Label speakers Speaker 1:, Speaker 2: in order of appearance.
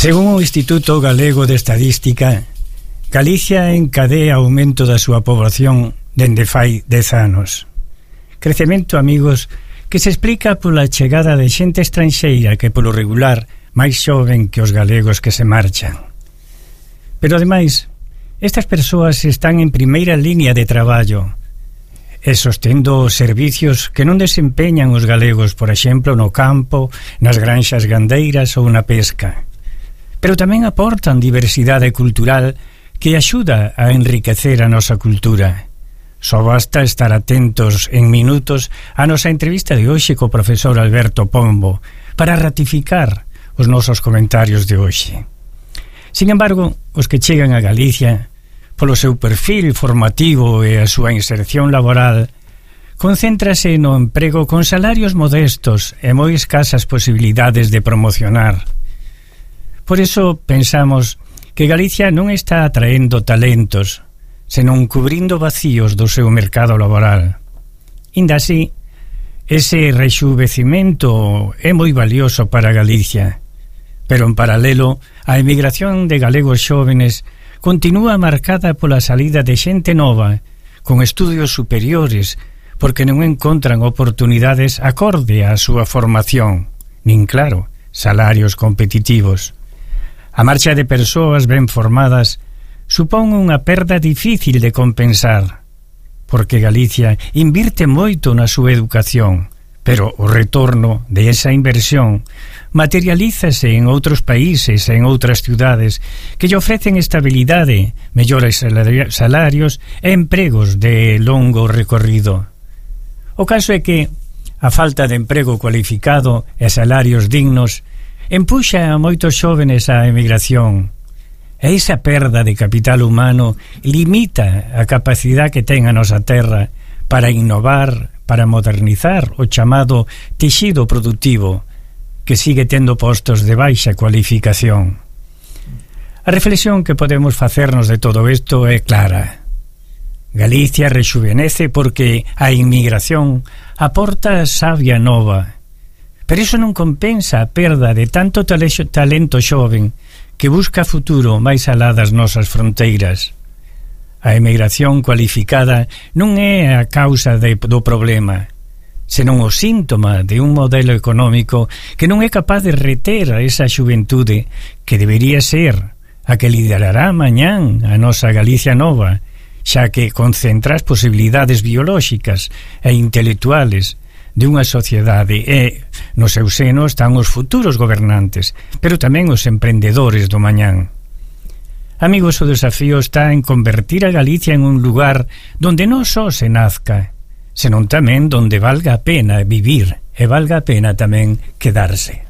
Speaker 1: Según o Instituto Galego de Estadística, Galicia encadea aumento da súa poboación dende fai 10 anos. Crecemento, amigos, que se explica pola chegada de xente estranxeira que polo regular máis xoven que os galegos que se marchan. Pero ademais, estas persoas están en primeira línea de traballo e sostendo os servicios que non desempeñan os galegos, por exemplo, no campo, nas granxas gandeiras ou na pesca. Pero tamén aportan diversidade cultural que axuda a enriquecer a nosa cultura. Só basta estar atentos en minutos a nosa entrevista de hoxe co profesor Alberto Pombo para ratificar os nosos comentarios de hoxe. Sin embargo, os que chegan a Galicia, polo seu perfil formativo e a súa inserción laboral, concéntrase no emprego con salarios modestos e moi escasas posibilidades de promocionar. Por iso pensamos que Galicia non está atraendo talentos, senón cubrindo vacíos do seu mercado laboral. Inda así, ese rexuvecimento é moi valioso para Galicia, pero en paralelo, a emigración de galegos xóvenes continúa marcada pola salida de xente nova, con estudios superiores, porque non encontran oportunidades acorde á súa formación, nin, claro, salarios competitivos. A marcha de persoas ben formadas supón unha perda difícil de compensar, porque Galicia invirte moito na súa educación, pero o retorno de esa inversión materialízase en outros países e en outras ciudades que lle ofrecen estabilidade, mellores salarios e empregos de longo recorrido. O caso é que a falta de emprego cualificado e salarios dignos empuxa a moitos xóvenes á emigración. E esa perda de capital humano limita a capacidade que ten a nosa terra para innovar, para modernizar o chamado texido productivo, que sigue tendo postos de baixa cualificación. A reflexión que podemos facernos de todo isto é clara. Galicia rexuvenece porque a inmigración aporta savia nova, pero iso non compensa a perda de tanto talento xoven que busca futuro máis alá das nosas fronteiras. A emigración cualificada non é a causa do problema, senón o síntoma de un modelo económico que non é capaz de reter a esa xuventude que debería ser a que liderará mañán a nosa Galicia nova, xa que concentra as posibilidades biolóxicas e intelectuales de unha sociedade e no seu seno están os futuros gobernantes, pero tamén os emprendedores do mañán. Amigos, o desafío está en convertir a Galicia en un lugar donde non só se nazca, senón tamén donde valga a pena vivir e valga a pena tamén quedarse.